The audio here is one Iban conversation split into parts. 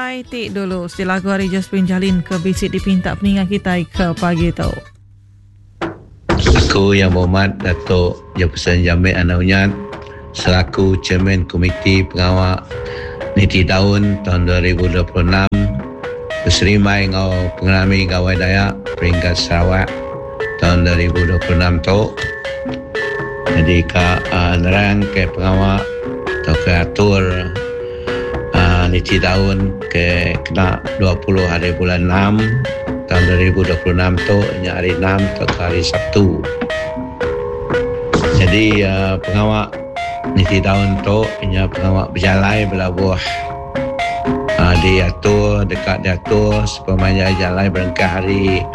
Utai ti dulu siti lagu ari Josephine Jalin ke bisi dipinta peninga kitai ke pagi tu. Aku Yang Berhormat Datuk Jefferson Jamit Anak Unyat selaku Chairman Komiti Pengawa Niti Daun taun 2026 beserimbai enggau Pengerami Gawai Dayak Peringkat Sarawak taun 2026 tu nyadi ka nerang ke pengawa tauka atur niti daun ke kena 20 hari bulan enam taun 2026 tu nya hari enam tauka hari Sabtu. Nyadi pengawa niti daun tu nya pengawa bejalai belabuh diatur deka diatur sepemanjai jalai berengkah ari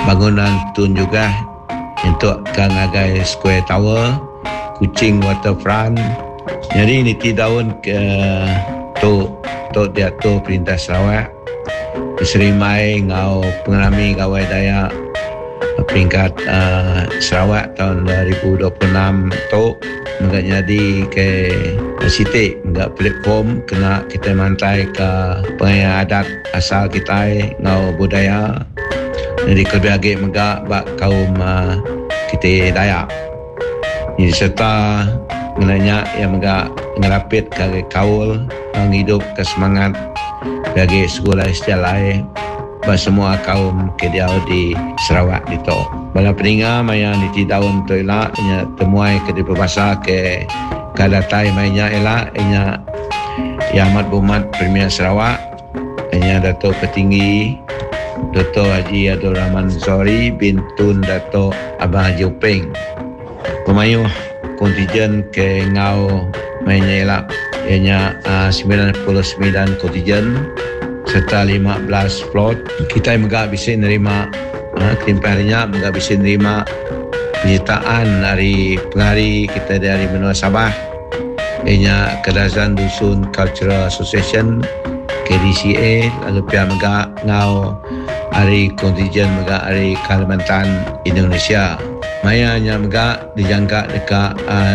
bangunan Tun Jugah nyentuk ka ngagai Square Tower, Kuching Waterfront. Nyadi niti daun ke tu tu diatur Perintah Sarawak beserimbai enggau Pengerami Gawai Dayak Peringkat Sarawak taun 2026 tu mega nyadi ke siti mega platform kena kitai mantaika pengaya adat asal kitai enggau budaya nyadi kelebih agi mega ba kaum kitai Dayak. Nyadi sereta ngena nya iya mega ngerapitka agi kaul enggau ngidupka semangat ke agi segulai sejalai ba semua kaum ke diau di Sarawak ditu. Bala peninga maya niti taun tu ila nya temuai ke dipebasa ke ka datai maya nya ila nya Yang Amat Berhormat Premier Sarawak nya Dato Patinggi Doktor Haji Abdul Rahman Zohari bin Tun Dato Abang Haji Openg. Pemayuh kontijen ke enggau maya nya ila iya nya 99 kontijen sereta 15 float. Kitai mega bisi nerima kelimpah ari nya mega bisi nerima penyertaan ari pengari kitai dari menua Sabah iya nya Kadazan Dusun Cultural Association, KDCA, lalu pia mega enggau ari kontijen mega ari Kalimantan, Indonesia. Maya nya mega dijangka deka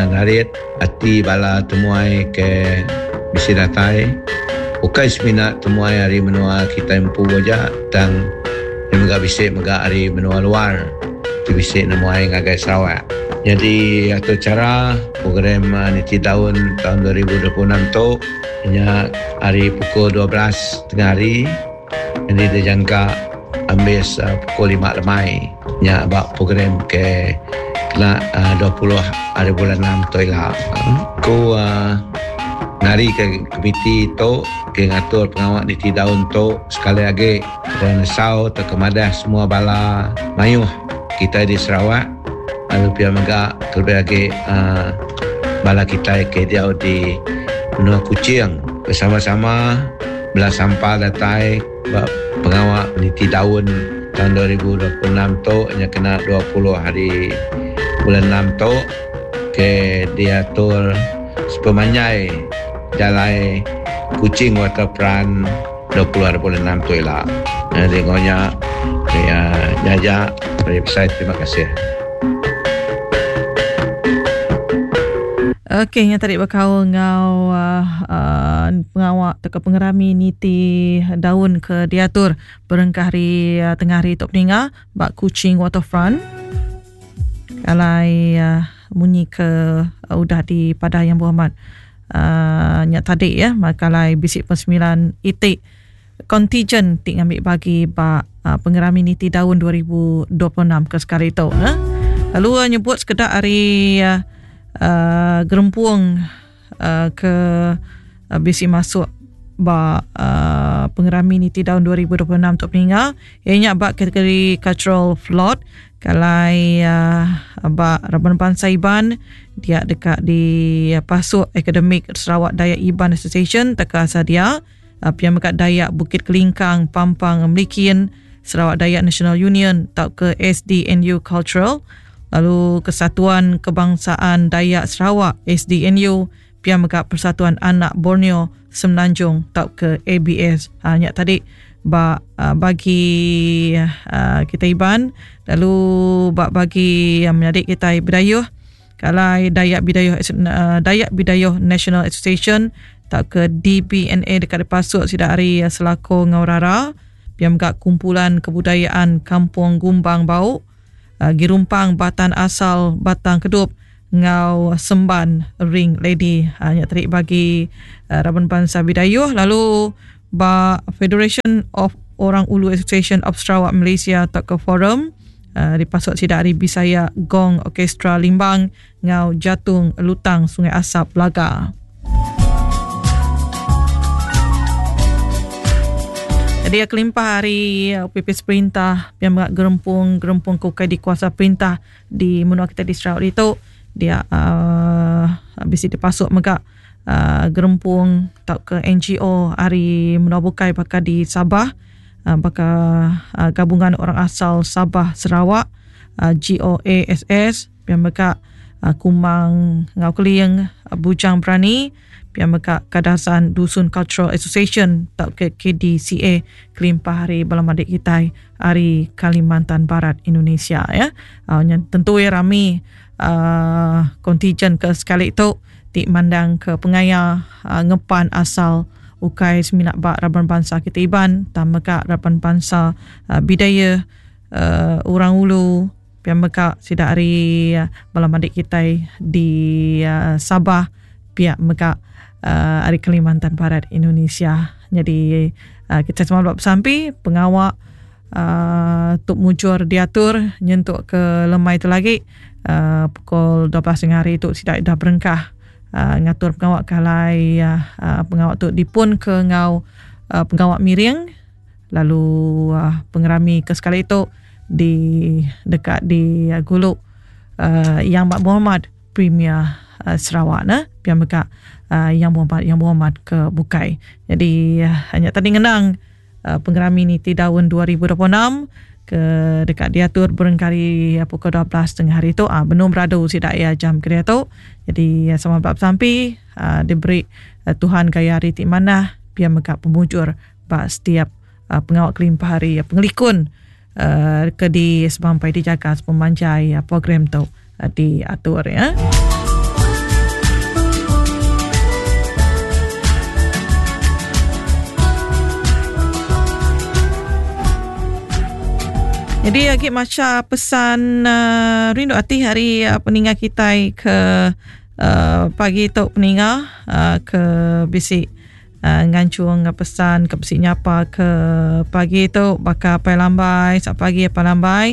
narit ati bala temuai ke bisi datai ukai semina temuai ari menua kitai empu aja tang iya mega bisi mega ari menua luar ti bisi nemuai ngagai Sarawak. Nyadi atur chara program niti taun taun 2026 tu nya ari pukul 12 tengah hari. Nyadi dijangka ambis pukul lima lemai nya ba program ke kena 20 hari bulan enam tu ila. Ku ngarika komiti tu ke ngatur pengawa niti daun tu sekali agi seraya nesau tauka madah semua bala mayuh kitai di Sarawak lalu pia mega kelebih agi bala kitai ke diau di menua Kuching besama-sama Bela sampal datai ba pengawa niti daun taun 2026 tu nya kena 20 hari bulan enam tu ke diatur sepemanjai jalai Kuching Waterfront 20 hari bulan enam tu ila. Nyadi enggau nya nya aja meri besai terima kasih. Okey nya tadi bekaul enggau uhh pengawa tauka pengerami niti daun ke diatur berengkah hari tengah hari tu peninga ba Kuching Waterfront. Alai uhh munyi ke udah dipadah Yang Berhormat uhh nya tadi ya maka alai bisi pesemilan iti kontijen ti ngambi bagi ba pengerami niti daun 2026 ke sekali tu. Lalu nyebut sekeda ari uh, gerempung uh, ke uh, bisi masuk ba uh, pengerami niti daun 2026 tu peninga iya nya ba kategori cultural float kalai uh, ba raban bansa Iban dia deka dipasuk Akademik Sarawak Dayak Iban Association teka Sadia uh, pia mega Dayak Bukit Kelingkang Pampang Melikin Sarawak Dayak National Union tauka SDNU Cultural lalu Kesatuan Kebangsaan Dayak Sarawak SDNU pia mega Persatuan Anak Borneo Semenanjung tauka ABS. Ha, nya tadi ba uh, bagi uh, kita Iban lalu ba bagi yang menyadi kita Bidayuh kalai Dayak Bidayuh uh, Dayak Bidayuh National Association. tauka DBNA deka dipasuk sida ari Selako enggau Rara pia mega Kumpulan Kebudayaan Kampung Gumbang Bau, Girumpang Batan Asal Batang Kedup enggau Semban Ring Lady. Nya tadi bagi raban bansa Bidayuh lalu ba Federation of Orang Ulu Association of Sarawak Malaysia tauka Forum dipasuk sida ari Bisaya Gong Orkestra Limbang enggau Jatung Lutang Sungai Asap Belaga. Jadi kelimpah ari OPP Perintah pia mega gerempung-gerempung ke ukai dikuasa perintah di menua kita di Sarawak ditu dia uhh bisi dipasuk mega uhh gerempung tauka NGO ari menua bukai baka di Sabah baka Gabungan Orang Asal Sabah Sarawak GOASS pia mega Kumang enggau Keling Bujang Berani pia mega Kadazan Dusun Cultural Association tauka KDCA kelimpah ari bala madik kitai ari Kalimantan Barat Indonesia ya. Nya tentu iya rami uhh kontijen ke sekali tu ti mandang ke pengaya ngepan asal ukai semina ba raban bansa kitai Iban tang mega raban bansa Bidayuh uhh Orang Ulu. Pia mega sida ari bala madik kitai di Sabah pia mega ari Kalimantan Barat Indonesia. Nyadi kitai semua ba besampi pengawa uhh tu mujur diatur nyentuk ke lemai tu lagi uhh pukul 12 tengah hari tu sida dah berengkah uhh ngatur pengawa ke alai uhh pengawa tu dipun ke enggau pengawa miring. Lalu pengerami ke sekali tu di deka di gulu Yang Amat Berhormat Premier Sarawak ne pia mega Yang Berhormat Yang Berhormat ke bukai. Jadi nya tadi ngenang pengerami niti daun 2026 ke deka diatur berengkah ari pukul 12 tengah hari tu benung beradu sida iya jam ke diatu. Jadi sama ba besampi diberi Tuhan gaya hari ti manah pia mega pemujur ba setiap pengawa kelimpah ari pengelikun ke di semampai dijaga sepemanjai program tu diatur ya. Jadi agi macha pesan uh, rindu ati hari uh, peninga kitai ke uh, pagi tu peninga uh, ke bisi Nganchung pesan ke bisi nyapa ke pagi tu baka apai lambai selamat pagi apai lambai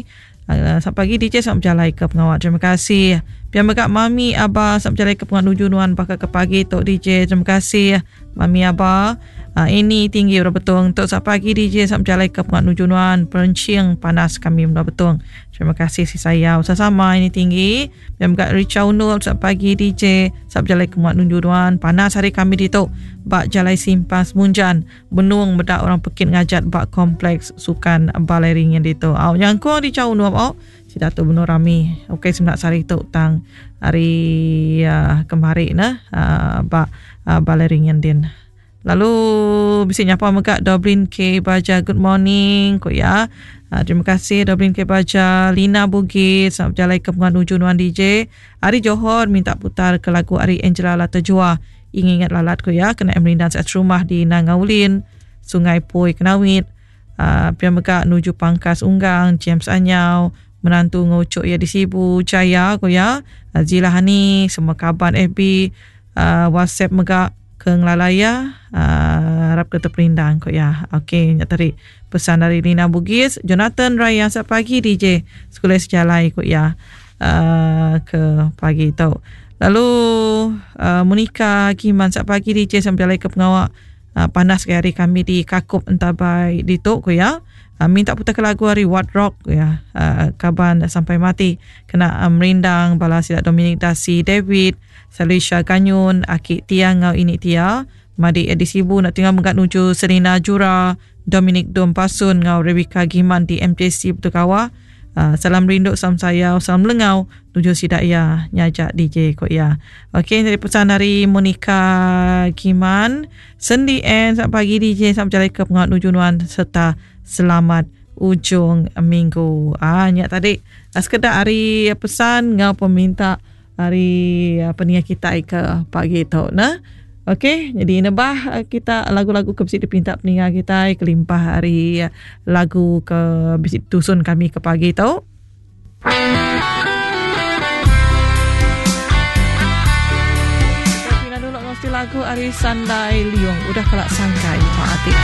selamat pagi DJ selamat bejalai ke pengawa terima kasih pia mega mami aba selamat bejalai ke pengawa nuju nuan baka ke pagi tu DJ terima kasih mami aba ini tinggi orang betung tu selamat pagi DJ selamat bejalai ke pengawa nuju nuan perencing panas kami menua betung terima kasih si sayau sama-sama ini tinggi Pia mega Richa Unul selamat pagi DJ selamat bejalai ke muat nuju nuan panas hari kami ditu ba jalai simpang Semunjan benung meda orang pekit ngajat ba kompleks sukan Balai Ringin ditu. Au nyangkung Richa Unul au sida tu benung rami ukai semina sehari tu tang hari uh, kemari ne uh, ba uh, Balai Ringin din. Lalu bisi nyapa mega Dublin K Baja good morning ku iya. Uh, terima kasih Dublin K Baja, Lina Bugis selamat bejalai ke pengawa nuju nuan DJ. Ari Johor minta putar ke lagu ari Angela Lata Jua. Ingin ingat lalat ku iya kena merindang saat serumah di Nanga Ulin, Sungai Poi Kenawit. Uh, pia mega nuju Pangkas Unggang, James Anyau, menantu ngucuk iya di Sibu Jaya ku iya. Uh, Zila Hani, semua kaban FB, uh, WhatsApp mega Ke ngelala iya arap ke teperindang ku iya. Okey nya tadi pesan ari Lina Bugis, Jonathan Raya selamat pagi DJ sekulai sejalai ku iya uhh ke pagi tu. Lalu uhh Monica Giman selamat pagi DJ selamat bejalai ke pengawa panas gaya hari kami di Kakup Entabai ditu ku iya. Minta putar ke lagu ari Wat Rock ku iya uhh kaban sampai mati kena merindang bala sida Dominic Dasi David. Salisha Ganyun, aki Tia enggau ini Tia, madi Edi Sibu enda tinggal mega nuju Selina Jura, Dominic Dom Pasun enggau Rebecca Giman di MJC Batu Kawah. Salam rindu, salam sayau, salam lengau nuju sida iya nyaja DJ ku iya. Okey nyadi pesan ari Monica Giman, Sendi Ann selamat pagi DJ selamat bejalai ke pengawa nuju nuan serta selamat ujung minggu. Ah nya tadi sekeda ari pesan enggau peminta Ari peninga kitai ke pagi tu neh. Okey, jadi nebah eh, kita lagu-lagu ke bisi dipinta peninga kita kelimpah hari eh, lagu ke bisi tusun kami ke pagi tu. Kita dulu mesti lagu ari Sandai Liung udah kelak sangkai Pak Atik.